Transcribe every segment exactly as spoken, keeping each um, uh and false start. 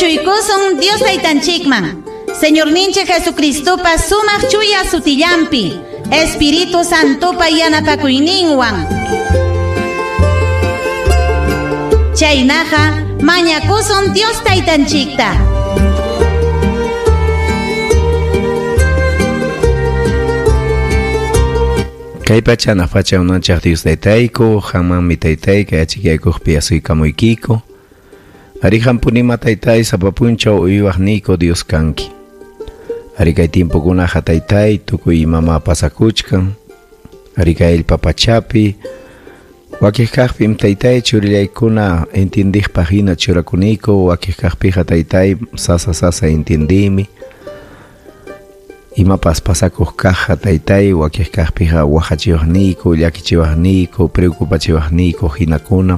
Anchuykusun Dios taytanchikman. Señorninchik Jesucristopa sumaq chuya sutillampi, Espíritu Santopa yanapakuyninwan. Chaynaqa mañakusun Dios taytanchikta. Kay pacha na facha unanchaq Dios taytayku, hamanmi taytay kay achikaykuqpi asuykamuykiko. Ari hampunima taytay sapa punchaw uywaqniyku Dios kanki. Ari kay tiempokunaqa taytay tukuy imama pasakuchkan. Ari kay allpa pachapi wakiq kaqpim taytay churillaykuna entindiqpaq hina churakuniyku, wakiq kaqpiqa taytay sasa sasa entindimi. Imapas pasakuq kaqqa taytay wakiq kaqpiqa waqachiwaqniyku, llakichiwaqniyku, preocupachiwaqniyku hinakuna.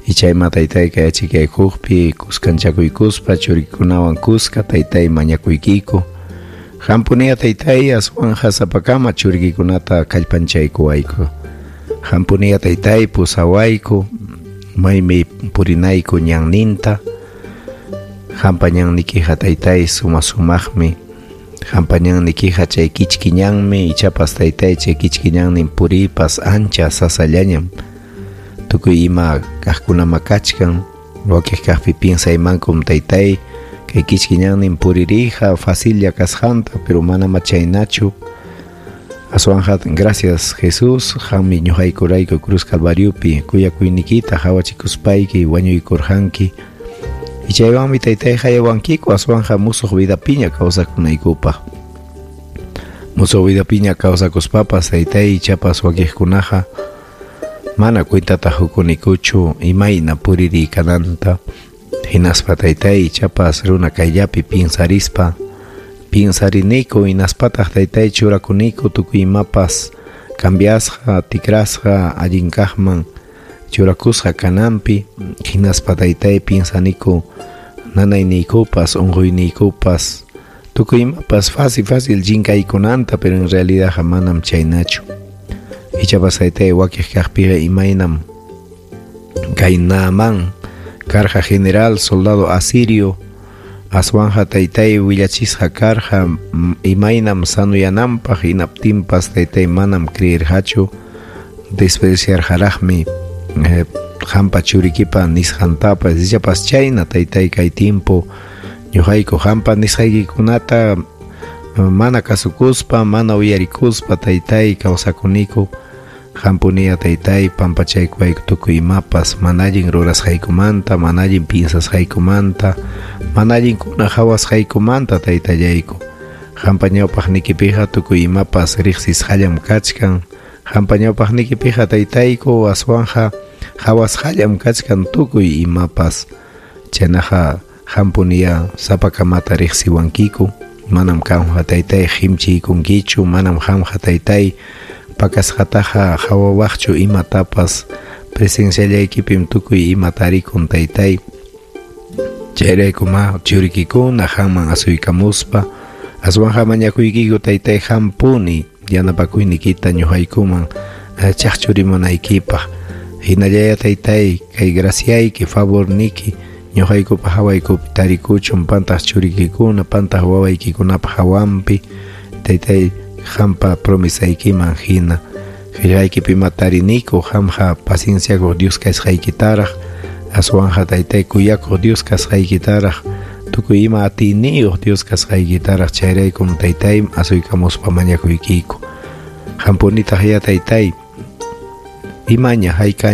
Ichayma taytay kay achikaykuqpi kuskanchakuykuspa churikunawan kuska taytay mañakuykiku. Hampuniya taytay aswanja sapakama churikikunata kallpanchaykuwayku. Hampuniya taytay pusawayku maymi purinayku ñanninta. Hampa ñannikiqa taytay suma sumaqmi. Hampa ñannikiqa chay kichki ñanmi, ichapas taytay chay kichki ñannin puripas ancha sasallañam. Tukuy ima kaqkunama kachkan, wakiq kaqpi piensaymankum taytay kay kichki ñannin puririja facilla kasqanta, pero manama chaynachu. Aswanja gracias Jesús, qammi ñuqaykurayku cruz calvariopi kuyakuynikita hawachikuspayki wañuykurqanki. Ichaywanmi taytay hayawankiku aswanja musuq vidapiña kawsakunaykupaq. Musuq vidapiña kawsakuspapas taytay ichapas wakiqkunaqa mana cuentata hukunikuchu imayna puriri kananta. Hinaspa taytay ichapas runa kayllapi piensarispa piensariniku, hinaspataq taytay churakuniku tukuy imapas cambiasqa, tikrasqa allin kaqman churakusqa kananpi. Hinaspa taytay piensaniku nanayniykupas unquyniykupas tukuy imapas fácil fácil chinkaykunanta, pero en realidad manam chaynachu. Ichapas taytay wakiq kaqpiqa imaynam kay Naamán karqa general soldado asirio, aswanja taytay willachisqa karqa imaynam sanuyananpaq, hinaptinpas taytay manam creerqachu, despreciarqaraqmi eh, hampa churikipa nisqantapas. Ichapas chayna taytay kay tiempo ñuqayku hampa nisqaykikunata mana kasukuspa, mana uyarikuspa taytay kawsakuniku. Hampuniya taytay pampachaykuwayku tukuy imapas mana allin rurasqaykumanta, mana allin piensasqaykumanta, mana allinkuna hawasqaykumanta taytallayku. Hampa ñawpaqnikipiqa tukuy imapas riqsisqallam kachkan. Hampa ñawpaqnikipiqa taytayku aswanja hawasqallam kachkan tukuy imapas. Chaynaqa hampuniya sapakamata riqsiwankiku. Manam qamqa taytay qimchiykunkichu, manam qamqa taytay pakasqataqa hawawaqchu imatapas. Presenciallaykipim tukuy ima tarikun taytay. Chayrayku ma churikikuna qamman asuykamuspa aswanja mañakuykiku taytay hampuni yanapakuynikita ñuqaykuman chaqchurimunaykipaq. Hinallaya taytay kay graciayki favorniki ñuqaykupa hawaykupi tarikuchun pantaq churikikuna, pantaq wawaykikunapa hawanpi taytay hampa promesaykiman hina. Qillqaykipi tariniku qamqa pacienciakuq Dios kasqaykitaraq, aswanja taytay kuyakuq Dios kasqaykitaraq, tukuy ima atiyniyuq Dios kasqaykitaraq. Chayraykum taytay asuykamuspa mañakuykiku. Hampunitaq ya taytay imaña haykaña